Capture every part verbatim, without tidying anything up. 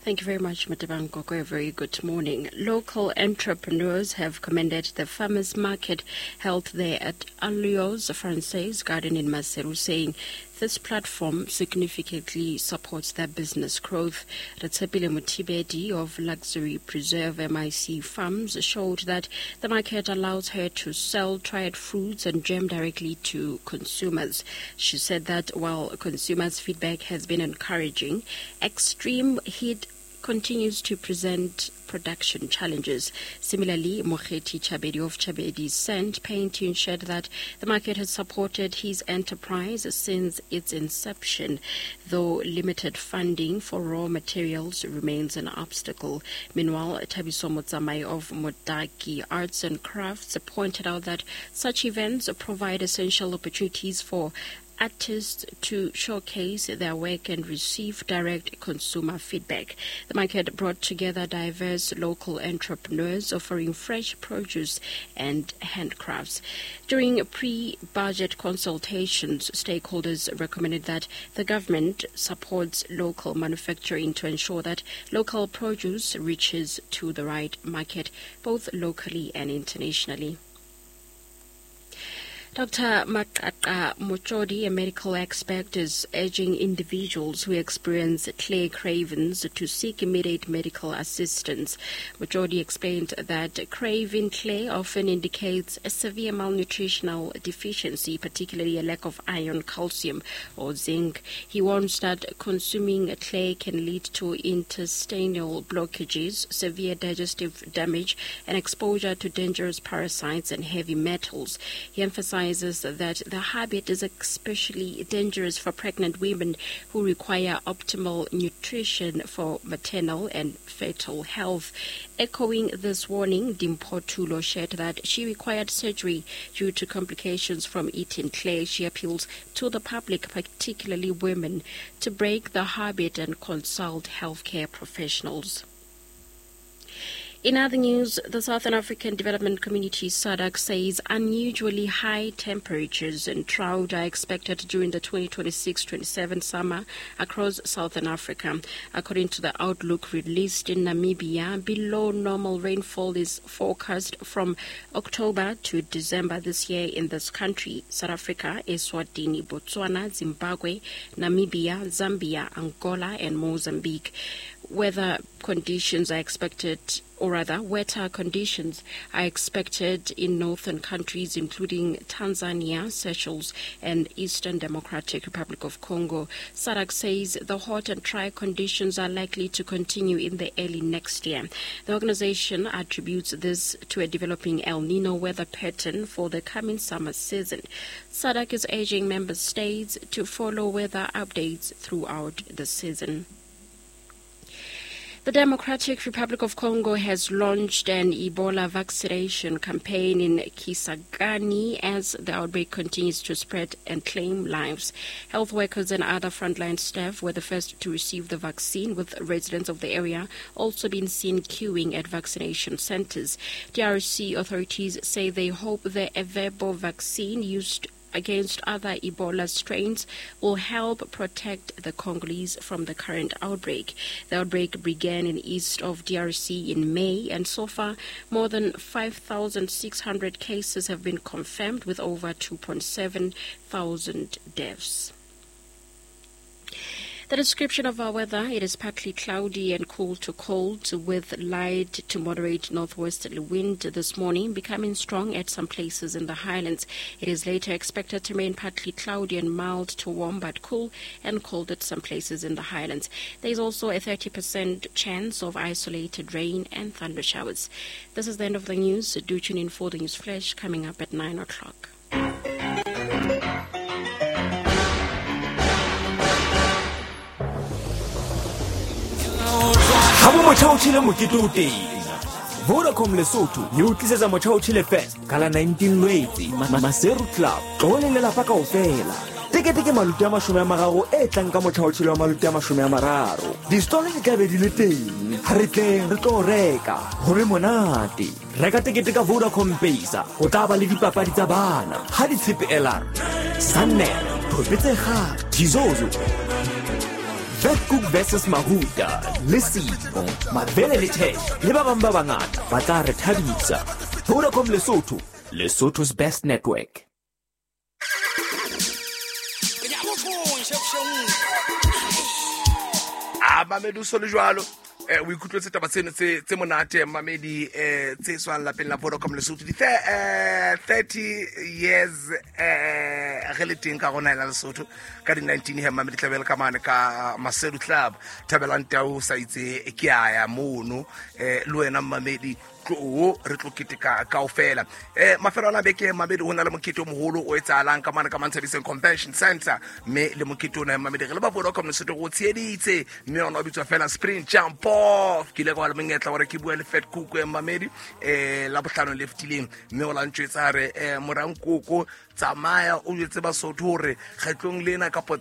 Thank you very much, Matebang Koko. A very good morning. Local entrepreneurs have commended the farmers market held there at Alliance Francaise Garden in Maseru, saying this platform significantly supports their business growth. Ratsepile Motibedi of Luxury Preserve M I C Farms showed that the market allows her to sell dried fruits and jam directly to consumers. She said that while consumers' feedback has been encouraging, extreme heat continues to present production challenges. Similarly, Mokheti Chabedi of Chabedi Sand Painting shared that the market has supported his enterprise since its inception, though limited funding for raw materials remains an obstacle. Meanwhile, Thabiso Motsamai of Modaki Arts and Crafts pointed out that such events provide essential opportunities for artists to showcase their work and receive direct consumer feedback. The market brought together diverse local entrepreneurs offering fresh produce and handcrafts. During pre-budget consultations, stakeholders recommended that the government supports local manufacturing to ensure that local produce reaches to the right market, both locally and internationally. Doctor Makaka Mochodi, a medical expert, is urging individuals who experience clay cravings to seek immediate medical assistance. Mochodi explained that craving clay often indicates a severe malnutritional deficiency, particularly a lack of iron, calcium, or zinc. He warns that consuming clay can lead to intestinal blockages, severe digestive damage, and exposure to dangerous parasites and heavy metals. He emphasized that the habit is especially dangerous for pregnant women who require optimal nutrition for maternal and fetal health. Echoing this warning, Dimpho Tulo shared that she required surgery due to complications from eating clay. She appeals to the public, particularly women, to break the habit and consult healthcare professionals. In other news, the Southern African Development Community, S A D C, says unusually high temperatures and drought are expected during the twenty twenty-six twenty-seven summer across Southern Africa. According to the outlook released in Namibia, below normal rainfall is forecast from October to December this year in this country, South Africa, Eswatini, Botswana, Zimbabwe, Namibia, Zambia, Angola, and Mozambique. Weather conditions are expected, or rather, wetter conditions are expected in northern countries, including Tanzania, Seychelles, and Eastern Democratic Republic of Congo. S A D C says the hot and dry conditions are likely to continue in the early next year. The organization attributes this to a developing El Nino weather pattern for the coming summer season. S A D C is urging member states to follow weather updates throughout the season. The Democratic Republic of Congo has launched an Ebola vaccination campaign in Kisangani as the outbreak continues to spread and claim lives. Health workers and other frontline staff were the first to receive the vaccine, with residents of the area also being seen queuing at vaccination centers. D R C authorities say they hope the Ervebo vaccine used against other Ebola strains will help protect the Congolese from the current outbreak. The outbreak began in east of D R C in May, and so far more than five thousand six hundred cases have been confirmed, with over two point seven thousand deaths. The description of our weather: it is partly cloudy and cool to cold with light to moderate northwesterly wind this morning, becoming strong at some places in the highlands. It is later expected to remain partly cloudy and mild to warm but cool and cold at some places in the highlands. There is also a thirty percent chance of isolated rain and thunder showers. This is the end of the news. Do tune in for the News Flash coming up at nine o'clock. Motjha o mokete o teng. Vodacom Lesotho e o tlisetsa Motjha o Tjhele Fest ka la nineteen Lwetse, Maseru Club. Tloho le lelapa kaofela. Tekete ke maluti a mashome a mararo e tlang ka Motjha o Tjhele wa maluti a mashome a mararo. Distolo di tla be di le teng. Ha re tleng re tlo reka, ho be monate. Reka tekete ka Vodacom Pesa, ho tla ba le dipapadi tsa bana. Ha di tshepe L R, Sannel, Thopetse Kgale, Tizozo, Vetkoek versus Mahuta, le Sipho, Mabele le Tech, le ba bang ba bangata ba tla re thabisa. Vodacom Lesotho, Lesotho's best network. A mamedi o so le jwalo eh o ikutlwetse taba tseno tse tse monate mamedi eh tse tswang lapeng la Vodacom Lesotho di eh thirty years eh re le teng ka rona la Lesotho ka di nineteen he mamedi tlabele ka mane ka Maseru Club Thabelang Tau sa itse ke aya mono eh le wena mamedi tlo re tlo keteka kaofela eh mafelo ana beke mamedi ho na le mokete o moholo o etsahalang ka mane ka Manthabiseng Convention Center mme le mokete ona mamedi re le ba Vodacom Lesotho go tsheditse mme ona o bitswa fela Spring Jump Off ke ile ka ba le monyetla hore ke bua le Fat Cook e mamedi eh la bohlano le fetileng mme o la ntjwetsa re eh morankoko tsamaya o jwetse Basotho hore kgetlong lena kapo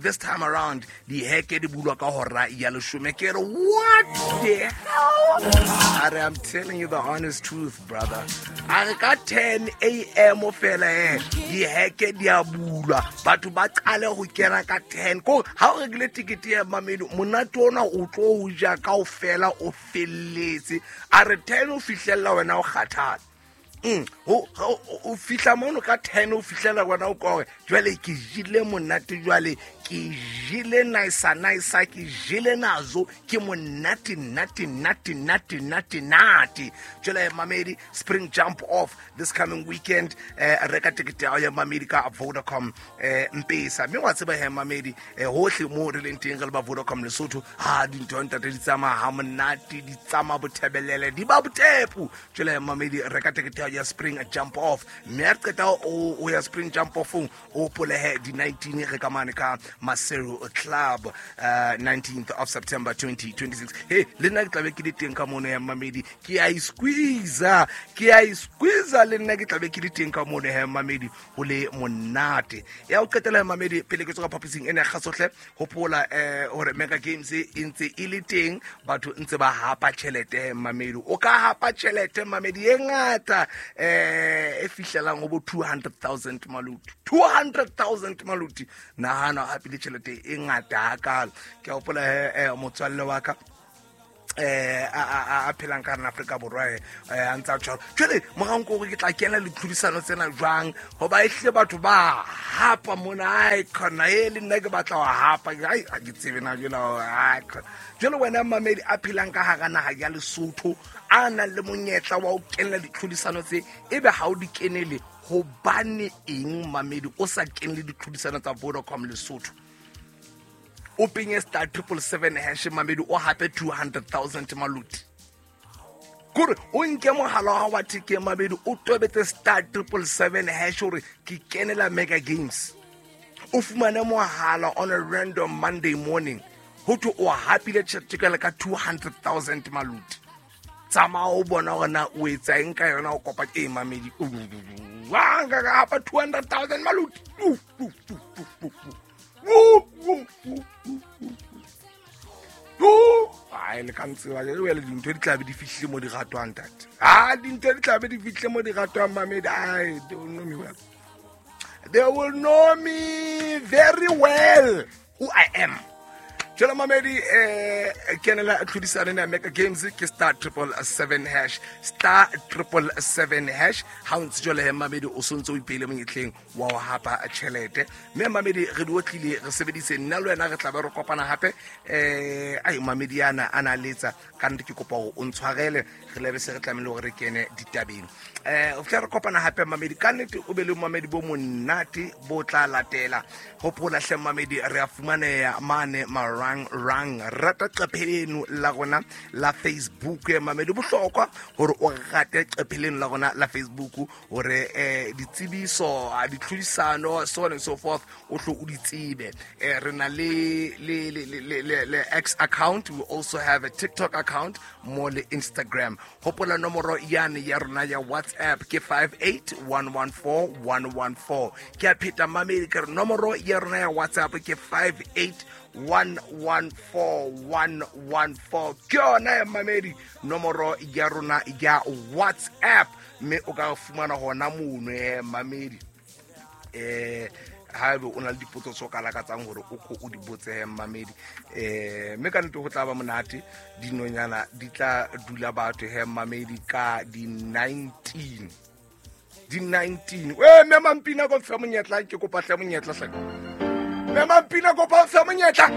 this time around di heke di bulwa ka hora ya leshome ke re what the hell are I'm telling you the honest truth brother a re ka ten a m fela eh di heke di a bulwa batho ba qale ho kena ka ten ko ha o rekile ticket ya mamedi monate ona o tlo o ja kaofela o felletse a re ten o fihlella wena o kgathala Mm, o o fihla mono ka ten o fihlela wena o kore jwale ke jile monate jwale ke jile nice nice ke jile nazo ke monate nate nate nate nate nate jwale mamedi Spring Jump Off this coming weekend eh reka ticket ya mamedi ka Vodacom eh Mpesa mme wa tseba he mamedi eh hohle mo re leng teng re le ba Vodacom Lesotho ha dintho ntate di tsamaya ha monate di tsamaya bothebelele di ba botepu jwale mamedi reka ticket ya Spring Jump Off mme a qeta o ya Spring Jump Off o polehe di nineteen re ka mane ka Maseru Club uh, nineteenth of September twenty twenty-six hey le nna ke tlabe ke le teng ka mono ya mamedi ke a squeeze ke a squeeze le nna ke tlabe ke le teng ka mono ya mamedi ho le monate ya o qetela ya mamedi pele ke tswa ka phaposing ena ya kgasohle hopola eh hore Mega Games e ntse e le teng batho ntse ba hapa tjhelete mamedi o ka hapa tjhelete mamedi e ngata eh e fihlelang ho bo two hundred thousand maluti two hundred thousand maluti nahana hape le tjhelete e ngata hakalo ke a hopola eh motswalle wa ka eh a a phelang ka Afrika Borwa eh a ntsa tshwara jwale moranko hore ke tla kena le tlhodisano tsena jwang hoba ehle batho ba hapa mona ai khona e le nna ke batla ho hapa ai a ke tsebe na jwale ai jwale wena mamedi a phelang ka hara naha ya Lesotho a nang le monyetla wa ho kenela ditlhodisano tse ebe ha o di kenele hobane eng mamedi o sa kenele ditlhodisano tsa Vodacom Lesotho o penye star triple seven hash mamedi o hape two hundred thousand maluti kore o nke mohala wa wa thekeng mamedi o tobetse star triple seven hash hore ke kenela Mega Games o fumane mohala on a random Monday morning ho thwe o hapile tjhelete ka two hundred thousand maluti tsamaya o bona hore na o etsa eng ka yona o kopa ke mamedi wa nka ka hapa two hundred thousand maluti ai le ka ntseba le wele dintho di tlabe di fihlile mo di ratwang ntate ah dintho di tlabe di fihlile mo di ratwang mamedi ai they will know me well they will know me very well who I am jwale mamedi eh kenela tlhodisano ya Mega Games ke star triple seven hash star triple seven hash ha o ntse jwale he mamedi o sontse o ipeile monyetleng wa ho hapa tjhelete mme mamedi re di otlile re sebedise nna le wena re tla be re kopana hape eh ai mamedi ana ana letsa ka nnete ke kopa hore o ntshwarele re lebe se re tlamehile hore re kene ditabeng eh o tla re kopana hape mamedi ka nnete o be le mamedi bo monate bo tla latela hopola hle mamedi re a fumaneha mane marang rang rata qepheleno la rona la Facebook mamedi bohlokwa hore o rate qepheleno la rona la Facebook hore eh ditsebiso ditlhodisano so on and so forth o hlo o di tsebe eh re na le le le le X account, we also have a TikTok account mo le Instagram hopola nomoro yane ya rona ya WhatsApp ke five eight one one four one one four ke a pheta mamedi ke re nomoro ya rona ya WhatsApp ke five eight one one four one one four ke yona ya mamedi nomoro ya rona ya WhatsApp mme o ka fumana hona mono eh mamedi eh Haebe o na le dipotso tse o ka lakatsang hore o ko o di botse he mmamedi, eh mme ka nnete ho tla ba monate. Dinonyana di tla dula batho he mmamedi ka di nineteen, di nineteen. Eh mme Mampina ko mfe monyetla, ke kopa hle monyetla hle. Mme Mampina kopa mfe monyetla.